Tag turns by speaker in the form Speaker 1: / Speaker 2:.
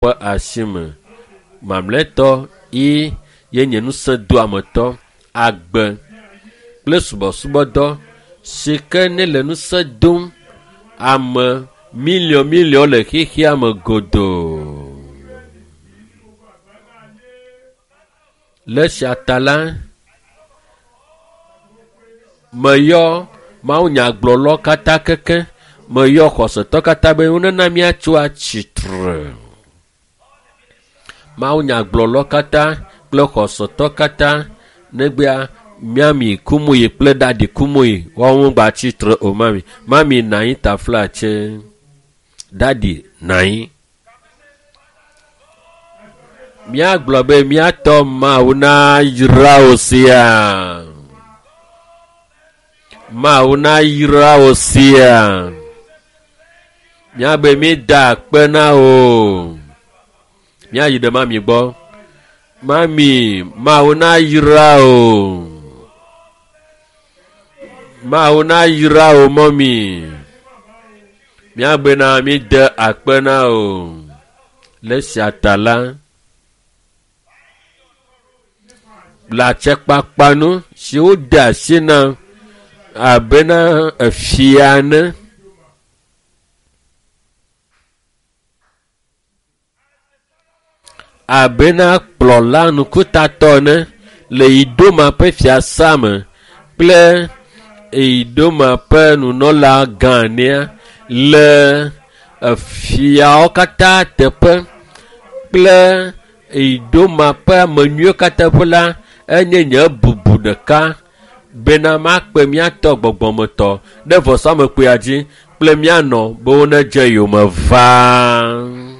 Speaker 1: ƒe asi me. Mamlɛtɔ yi ye nye ŋusẽdoametɔ, agbe kple subɔsubɔdɔ si ke ne le ŋusẽ dom ame miliɔn miliɔn le xexea me godoo. Le esia ta la, meyɔ mawunyagblɔlawo katã keke, meyɔ xɔsetɔ katã be wonena míatso atsitre. Mawunyagblɔlawo katã kple xɔsetɔ katã negbea míami kumuyi kple ɖaɖi kumuyi woawo ŋgba tsitre o mami. Mami nɔ anyi taflatse. Ɖaɖi nɔ anyi. Míagblɔ be míatɔ Mawu nayra wò sia. Mawu nayra wò sia. Míabe mída akpe na wò. Míayi ɖe mami gbɔ. Mami, Mawu nayra wò. Mawu nayra wò mɔmi. Míagbe na míde akpe na wò. Le esia ta la, le atsɛkpakpa nu si wode asi na abena efia ene. Abena kplɔla ŋkutatɔ ene le Idoma ƒe fiasa me kple Idoma ƒe nunɔla gã enea le efiawo katã teƒe kple Idoma ƒe ame nyuiwo katã ƒe la enye nye bubu ɖeka bena makpe míatɔ gbɔgbɔmetɔ ɖe vɔsamekpuia dzi kple míanɔ be wonedze yome vaa.